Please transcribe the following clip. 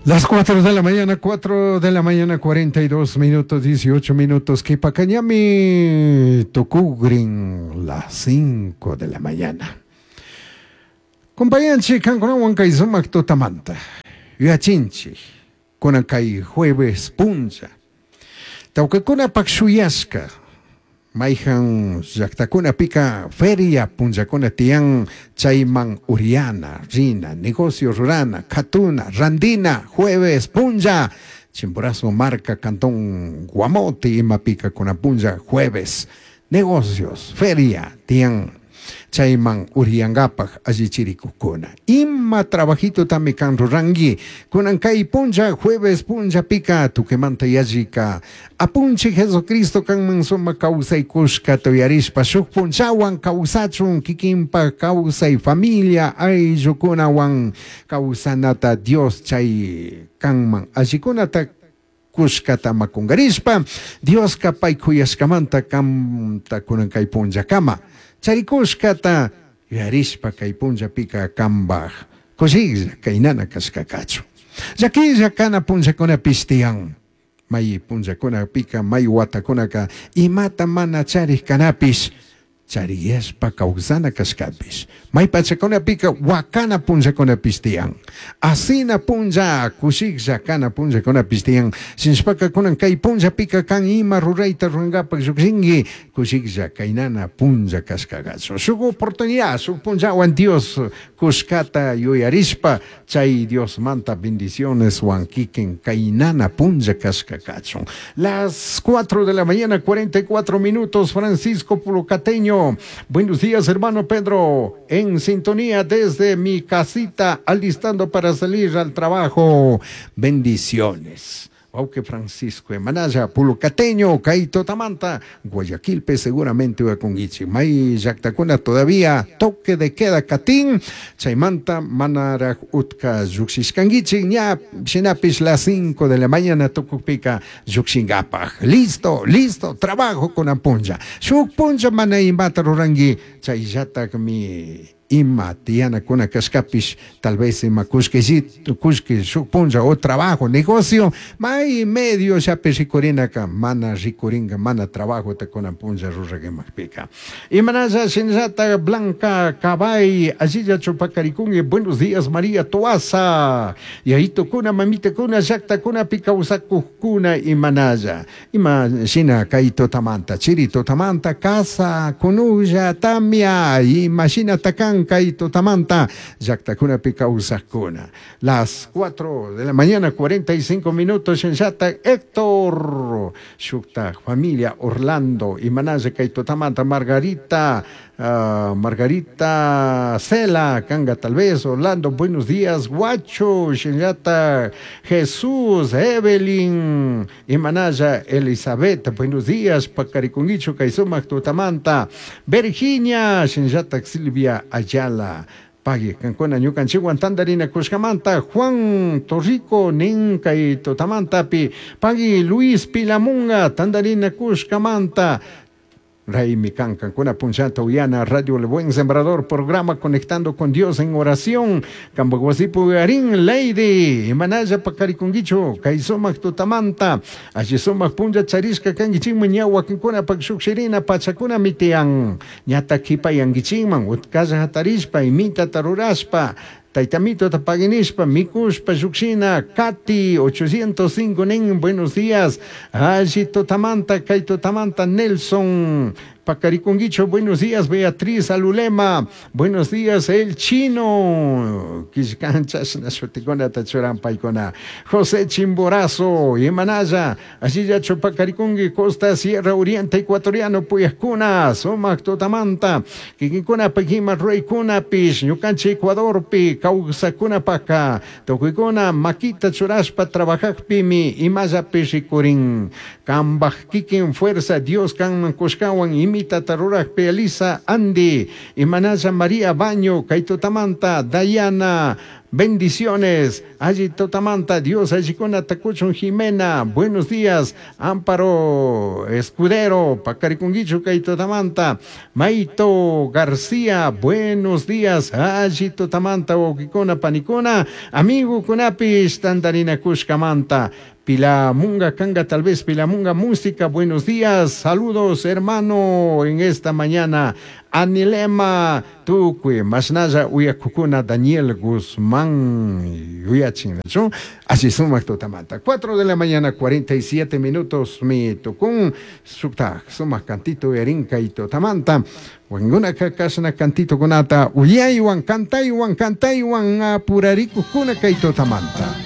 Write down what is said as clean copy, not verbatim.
Las 4 de la mañana, 4 de la mañana, 42 minutos, 18 minutos. Kipacañami tukugrin las 5 de la mañana. Compañanchi, kankunawan kay sumak tutamanta. Yuyachinchi, kunan kay jueves punlla. Tawkakunapak shuyashka, mayhan llaktakunapika feria punllakuna tiyan chayman uriana, rina, negocio rurana, katuna, randina, jueves punlla, Chimborazo marca, cantón Guamote, imapika kunan punlla, jueves, negocios, feria, tiyan chayman uriyankapak allichirikukuna. Ima trabajitotami kan ruranki, kunan kay punlla, jueves punllapika, tukimanta yallika, apunchik Jesucristo kanman sumak kawsay kushkata uyarishpa shuk punllawan kawsachun kikinpak kawsay familia ayllukunawan kawsanata Dios chay kanman allikunata kushkata makunkarishpa Dioska pay kuyashkamanta kanta kunan kay punllakama charikushkata yuyarishpa kay punllapika kanpak kushiklla kaynana kashkakachu. Llakilla kana punllakunapish tiyan. May punllakunapika may watakunaka imata mana charik kanapish chariyashpa kawsana kashkapish. May pachakunapika wakana punllakunapish tiyan. Asina punlla kushiklla kana punllakunapish tiyan. Shinashpaka kunan kay punllapika kan ima rurayta rurankapak llukshinki kushiklla kaynana punlla kashkakachu. Shuk oportunidad, shuk punllawan Dios kushkata yuyarishpa chay Diosmanta bendiciones wan kikin kaynana punlla kashkakachun. Las 4 de la mañana, 44 minutos, Francisco Pulucateño. Buenos días, hermano Pedro, en sintonía desde mi casita, alistando para salir al trabajo. Bendiciones. Auque Francisco Emanaya, Pulucateño, Kaito Tamanta, Guayaquilpe seguramente con Ichi. May llaktakuna todavía toque de queda katin, chaymanta manaraj utka llukshishkankichik, ña shinapish las 5 de la mañana tukukpika llukshinkapaj. Listo, listo, trabajo kunan punlla. Shuk punlla mana imata ruranki, chayllatakmi ima tiyanakuna kashkapish tal vez ima kullkillito kullki shuk punlla o trabajo negocio may medio llapi rikurinaka mana rikurinka mana trabajota kunan punlla rurakimakpika. Imanalla shinallata Blanca Cabay allilla chupakarikunki. Buenos días, María Toaza, yayitukuna, mamitakuna, llaktakunapi kawsakukuna imanalla ima shina kay tutamanta chiri tutamanta casa kunulla tamia ima shina takan kay tutamanta llaktakunapi kawsakuna. Las 4 de la mañana 45 minutos shinallata Héctor shukta familia Orlando imanalla kay tutamanta Margarita Margarita Cela Kanga tal vez Orlando, buenos días, Guacho shinallata Jesús Evelyn imanalla Elizabeth, buenos días, pakarikunkichu kay sumak tutamanta Virginia shinallata Silvia Ayala. Pagui, kankuna ñukanchikwan tandarina kushkamanta Juan Torrico nin kay tutamantapi pagui Luis Pilamunga tandarina kushkamanta Raimi Kankankuna punchanta uyana Radio El Buen Sembrador, programa Conectando con Dios en Oración. Kambaguasipu Garín, Lady, Imanaya Pakarikungicho, Kaisomak Tutamanta, Allisomak Punja Charishka Kangichingman, Ñawakinkuna Pakshukshirina, Pachakuna Mitian, Ñata Kipa Yangichingman, Utkalla Hatarishpa, Imita Tarurashpa, Taitamito Tapaguinispa, Mikushpa, Yuxina, Katy, 805 Nen, buenos días. Allí Totamanta, Kaito Tamanta, Nelson, Pacariconguicho, buenos días, Beatriz Alulema, buenos días, El Chino, Quiscanchas, Nashuticona, Tachuran Paicona, José Chimborazo, Imanaya, allí Chupacaricungui, Costa Sierra Oriente Ecuatoriano, Puyascuna, Somac Totamanta, Kikikuna, Pejima, Rey Pish, Ñucanchi, Ecuador, Pi, Causacuna, Paca, Tocuicuna, Maquita, Churaspa, Trabajak, Pimi, Imaya, Pishicurín, Cambaj, Kikin, Fuerza, Dios, Can, Cuscawan, Imita, Taruraj, Elisa, Andy, Imanaya, María, Baño, Kaito Tamanta, Dayana, Bendiciones. Alli tutamanta Dios allicunata cuchun Jimena. Buenos días. Amparo Escudero. Pacarikunguichu kay tutamanta. Maito García. Buenos días. Alli tutamanta wawkikuna panikuna. Amigukunapish tantarinakushkamanta. Pilamunga Kanga, tal vez Pilamunga Música, buenos días, saludos hermano en esta mañana. Anilema Tukui, Masnaya Uyakukuna, Daniel Guzmán, Yuyachin, así sumak tutamanta. 4 de la mañana, 47 minutos, mi tukun, sukta, sumak cantito, erinka y tutamanta. Wanguna kakashna cantito kunata, uyaywan, cantaywan, cantaywan, apurarikukuna kay tutamanta.